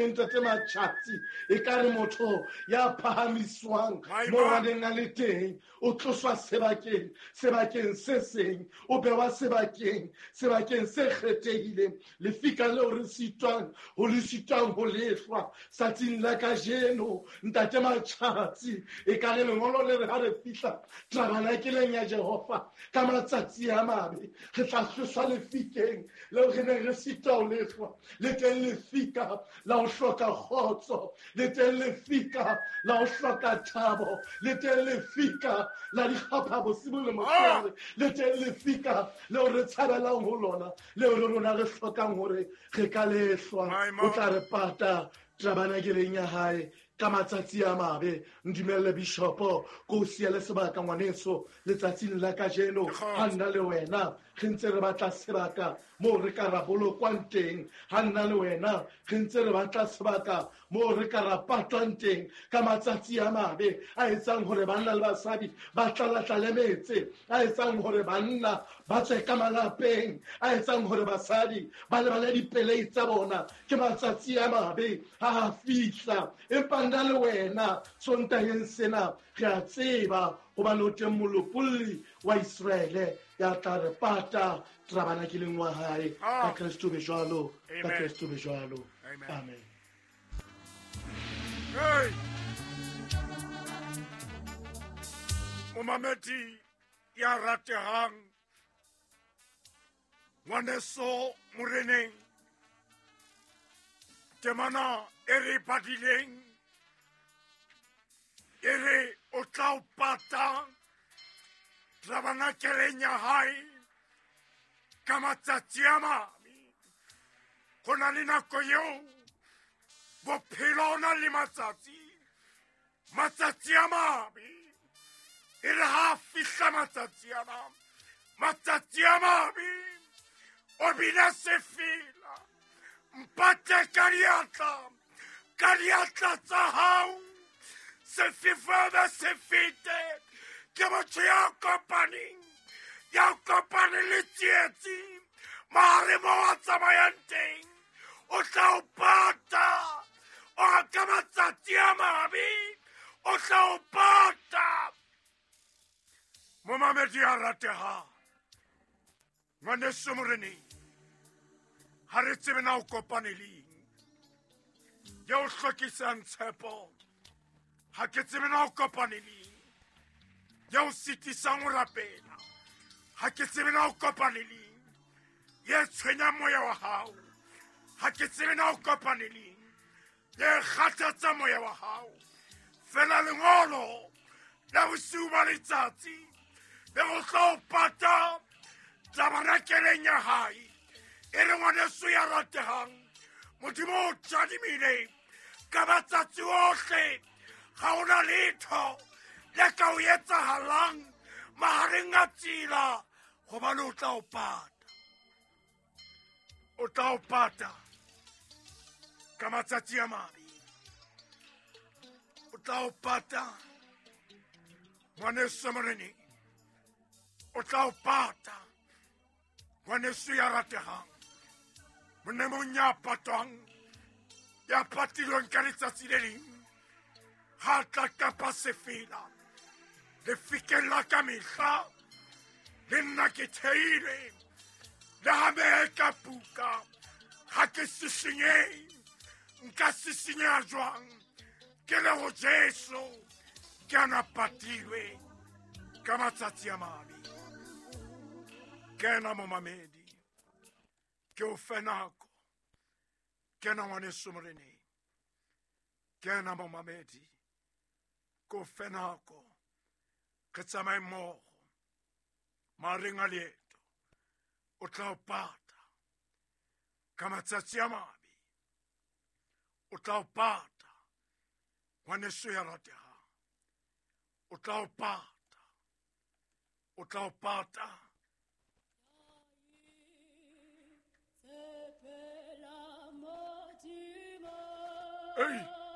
Ntate Matjhatsi, e ka re motho ya phahamiswang mo a neng a le teng, o tloswa sebakeng, sebakeng se seng, o bewa sebakeng, sebakeng se kgethehileng. Lefika leo re sitwang ho le sitwang ho lehlwa tsatsing la kajeno, Ntate Matjhatsi, e ka re lengolo le re ha re fihla tabanakeleng ya Jehova ka matsatsi a mabe, re tla tloswa lefikeng leo re neng re sitwa ho lehlwa. Le teng lefika la ho hloka kgotso, le teng lefika la ho hloka thabo, le teng lefika la dikgapha bosibu le motshehare, le teng lefika leo re tshabelang ho lona, leo le rona re hlokang hore re ka lehlwa. O tla re pata tabanakeleng ya hae ka matsatsi a mabe. Ndumelle bishopo ko o siele sebaka ngwaneso letsatsing la kajeno. Ha nna le wena re ntse re batla sebaka moo re ka ra bolokwang teng, ha nna le wena re ntse re batla sebaka moo re ka ra patwang teng ka matsatsi a mabe a etsang hore banna le basadi ba tlalatlale metse, a etsang hore banna ba tswe ka malapeng, a etsang hore basadi ba lebale dipelei tsa bona. Ke matsatsi a mabe ha a fihla, empa nna le wena Sontaheng sena re a tseba hobane o teng molopolli wa Iseraele ya tla re pata tabanakeleng wa hae. Ka Kristo be jwalo, ka Kristo be jwalo. Amen. Hey! Momamedi ya ratehang, ngwaneso moreneng, temana e re badileng e re o tla o pata tabanakeleng ya hae ka matsatsi a mabe. Go na le nako eo bophelo o na le matsatsi, matsatsi a mabe. E re ha fihla matsatsi ana, matsatsi a mabe, o bina sefela, mpate ka diatla, ka diatla tsa hao, sefefo se fete. Ke motho ya kopaneng, ya kopaneng le tsietsi mahare mo a tsamayang teng, o tla o pata. O ka matsatsi a mabe o tla o pata. Momamedi a ratehang, ngwaneso moreneng, ha re tsebe na o kopane le eng ya o hlokisang tshepo. Ha ke tsebe na o kopane le eng ya o sitisang ho rapela. Ha ke tsebe na o kopane le eng ye tshwenyang moya wa hao. Ha ke tsebe na o kopane le eng ye kgathatsa moya wa hao. Fela lengolo la bosiu ba letsatsi le go tla o pata tabanakeleng ya hae. E re ngwaneso ya ratehang, Modimo o tadimile ka matsatsi ohle, ga ona letho le ka o etsahalang mahareng a tsela, gobane o tla o pata. O tla o pata ka matsatsi a mabe. O tla o pata ngwaneso moreneng, o tla o pata ngwaneso ya rategang, monemong ya patwang, ya patilweng ka letsatsi le leng ha tla kapa sefela lefikeng la ka mehla. Le nna ke theile le ha mehe ka puka, ha ke sisinyehe. Nka sisinyeha jwang ke le ho Jesu? Ke ana patilwe ka matsatsi a mabe. Kena momamedi, ke o fe nako. Kena ngwaneso moreneng, kena momamedi, ke o fe nako. Re tsamaye mmogo mahareng a leeto. O tla o pata ka matsatsi a mabe, o tla o pata ngwaneso ya ratehang, o tla o pata, o tla o pata. Ei!